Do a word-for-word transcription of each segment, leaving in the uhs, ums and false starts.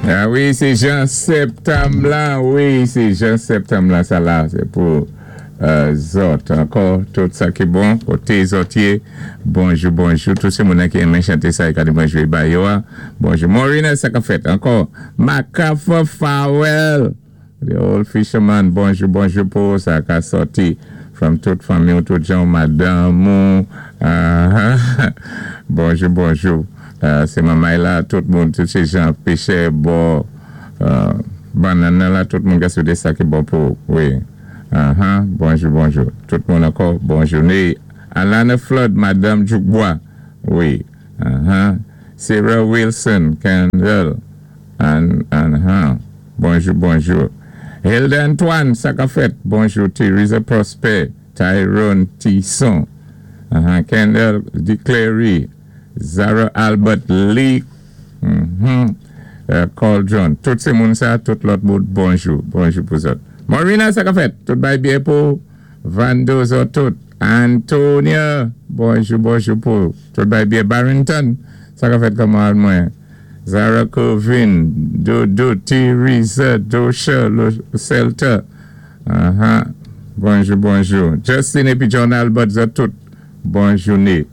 Ah wi, sé Jean Septanm la, wi, sé Jean Septanm la, sa la, sé pou euh, zòt. Ankò, tout sa ki bon, koté zòt yé, bonjou, bonjou, tout sé moun ki renmen chanté sa, gade mwen jwé ba yo, ah. Bonjou. Maureen, sa ka fèt, ankò, MacArthur Farwell, the old fisherman, bonjou, bonjou pou sa ka sòti from tout fanmi, tout jan, madanm, uh, bonjou, bonjou. Euh, sé manmay la, tout moun, tout sé jan péchè, bò, euh, bannann la, tout moun ka swété sa ki bon pou, wi. Uh-huh. Bonjou, bonjou. Tout moun ankò, bonjou. Alana Flood, Madame Djoukbois, wi. Uh-huh. Sarah Wilson, Kendall, and, and, uh, bonjou, bonjou. Hilda Antoine, sa ka fèt, bonjou. Teresa Prosper, Tyrone Tisson, uh-huh. Kendall Declary, Zara Albert Lee, mm-hmm. uh, Cauldron. Tout sé moun sa, tout lòt moun, bonjou, bonjou pou zòt. Marina, sa ka fèt, tout bay byen pou Vando zòt tout. Antonia, bonjou, bonjou pou tout bay byen. Barrington, sa ka fèt kòman mwen. Zara Covin, Dodo, Teresa, Dosha, Celta. Uh-huh. Bonjou, bonjou. Justin épi John Albert, zòt tout. Bonjou, né.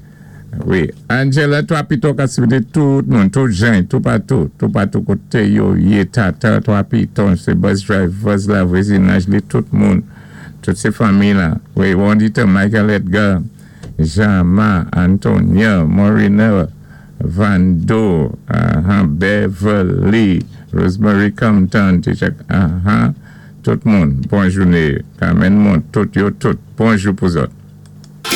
Wi. Angela, twa piton ka swété tout moun, tout jan, tout patou, tout patou koté yo yé tata, twa piton, sé bus drivers la, vwazinaj li, tout moun, tout sé fanmi la. Wi, Wandita, Michael Edgar, Jean-Ma, Antonia, Morina, Vando, uh-huh, Beverly, Rosemary Compton, uh-huh, tout moun, bonjou né, Carmen Mont, tout yo tout, bonjou pou zòt.